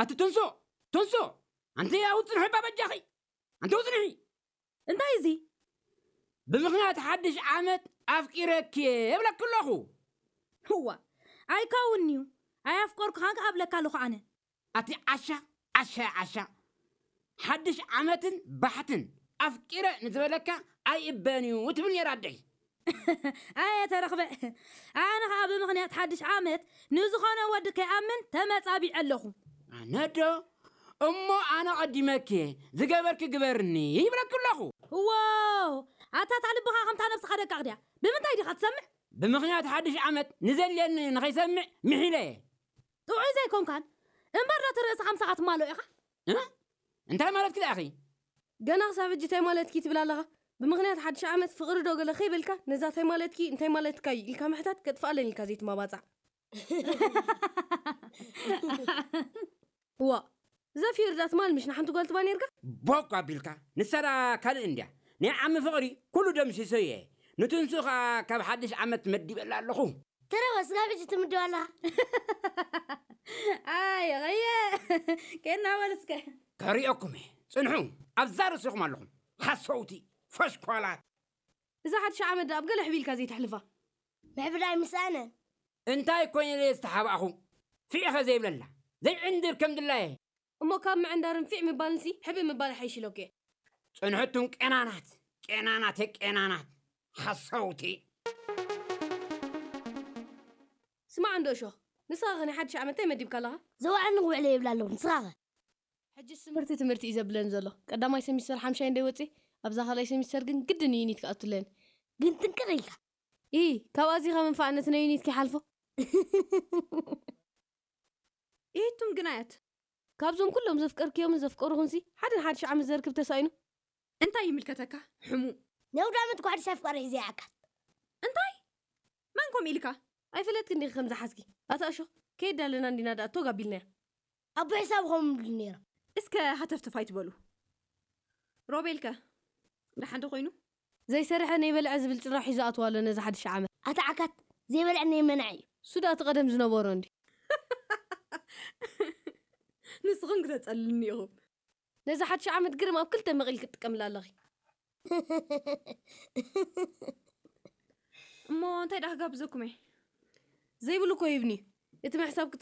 ኣቲ ትንሶ፣ ትንሶ፣ ኣንቲ ኣብኡ ጽንሒ እባ በጃኺ። ኣንቲ ኣብኡ ጽንሒ። እንታይ እዚ? ብምኽንያት ሓድሽ ዓመት ኣፍቂረኪ እየ እብለኪ ኣለኹ። እዋ፣ ኣይከውንን'ዩ። ኣየፍቀርኩኻን ከኣ እብለካ ኣለኹ ኣነ። ኣቲ ዓሻ፣ ዓሻ፣ ዓሻ። ሓድሽ ዓመትን ባሕትን ኣፍቂረ ንዝበለካ ኣይእበን እዩ ትብል ነይራ ኣደይ። ኣየ ተረኽበ። ኣነ ኸኣ ብምኽንያት ሓድሽ ዓመት ንዝኾነ ወዲ ከይኣምን ተመጻቢዐ ኣለኹ። ኣነ ዶ? እሞ ኣነ ቀዲመኪ ዝገበርኪ ግበርኒ ይብለኪ ኣለኹ። እዎ፣ ኣታ እታ ልብኻ ከምታ ነብስኻ ደቃቕ ድያ? ብምንታይ ዲኻ ትሰምዕ? ብምኽንያት ሓድሽ ዓመት ንዘልየኒ ንኸይሰምዕ ምሒለ እየ። ጥዑይ ዘይኮንካን እምበር ነቲ ርእስኻ ምሳኻ ትማልኦ ኢኻ። እ? እንታይ ማለትኪ ደኣ ኢኺ? ገና ክሳብ ሕጂ እንታይ ማለትኪ ትብል ኣለኻ? ብምኽንያት ሓድሽ ዓመት ፍቕሪ ዶ ገለ ከይበልካ፣ ነዛ እንታይ ማለትኪ፣ እንታይ ማለትካ እዩ ኢልካ ምሕታት ከጥፍኣለን ኢልካ ዘይትማባጻዕ። እዋ፣ ዘፊር ዳ ትማል ምሽ ንሓንቲ ጓል ትባ ነርካ? ቦክ ኣቢልካ፣ ንሳ ዳ ካልእ እንድያ። ናይ ዓሚ ፍቕሪ ኩሉ ደምሲሶ እየ። ንትንሱ ኸኣ ካብ ሓድሽ ዓመት መዲበላ ኣለኹ። ተረፈ ስጋብ ሕጂ ትምድብ ኣለኻ። ኣየ ቐየ፣ ኬና በል እስከ። ከሪኦኩም እየ። ጽንሑ፣ ኣብዛ ርእሲኹም ኣለኹም። ሓሰውቲ፣ ፈሽኳላት። እዛ ሓድሽ ዓመት ዳ ኣብ ገለ ሕብኢልካ ዘይተሕልፋ? ምሕብዳይ ምስኣነን። እንታይ ኮይነ ኢለ ዝተሓባእኹ? ፊዕኸ ዘይብለላ፣ ዘይዕንድር ከም ድላየ። እሞ ካብ ምዕንዳርን ፊዕ ምባልንሲ ሕብእ ምባል ይሓይሽ ኢለኩ እየ። ጽንሕቱም ቄናናት፣ ቄናናት፣ ቄናናት፣ ሓሰውቲ። ስማዕ እንዶ እሾኽ፣ ንስኻ ኸ ናይ ሓድሽ ዓመት እንታይ መዲብካ ኣለኻ? ዘውዓልኒ ክውዕለ ይብል ኣለኹ፣ ንስኻ ኸ? ሕጅስ ትምህርቲ ትምህርቲ እዩ ዘብለኒ ዘሎ። ቀዳማይ ሰሚስተር ሓምሻይ እንዶ ይወጽእ፣ ኣብዛ ካልኣይ ሰሚስተር ግን ግድን እዩ ዩኒት ክኣቱ ኣለኒ። ግን ጥንቅቕ ኢልካ። ኢ፣ ካብ ኣዚኻ መንፋዕነት ናይ ዩኒት ከይሓልፎ። ኢቱም ግናያት። ካብዞም ኩሎም ዘፍቀርክዮምን ዘፍቀሩኹንሲ፣ ሓደ ንሓድሽ ዓመት ዘርክብ ተሳኢኑ። እንታይ ይምልከተካ? ሕሙ። ነውዳመት ኳዕድሽ ኣፍቃሪ ሒዘ ይኣካል። እንታይ? መን ከምኡ ኢልካ? ኣይፈለጥክን ዲኺ ከም ዝሓዝኪ? ኣታ እሾ፣ ከየዳለና እንዲና ደኣ ቶግ ኣቢልናያ። ኣቦ ሒሳብ ኸም ይብሉ ነይሮም። እስከ ሃተፍተፍ ኣይትበሉ። ሮቤልከ? ደሓን ዶ ኮይኑ? ዘይሰርሐ ነይበልዐ ዝብል ጭርሖ ሒዙ ኣትዋ ኣሎ ነዚ ሓድሽ ዓመት። ኣታ ዓካት፣ ዘይበልዐ ነይመንዐ እዩ። እሱ ደኣ እቲ ቀደም ዝነበሮ እንድዩ። ንስኹም ክተጸልሉኒ ኢኹም። ነዚ ሓድሽ ዓመት ግርም ኣብ ክልተ መቒል ክትጥቀምላ ኣለኺ። እሞ እንታይ ደኣ ክጋብዘኩም እየ? ዘይብሉ እኮ ሂብኒ። እቲ ምሕሳብ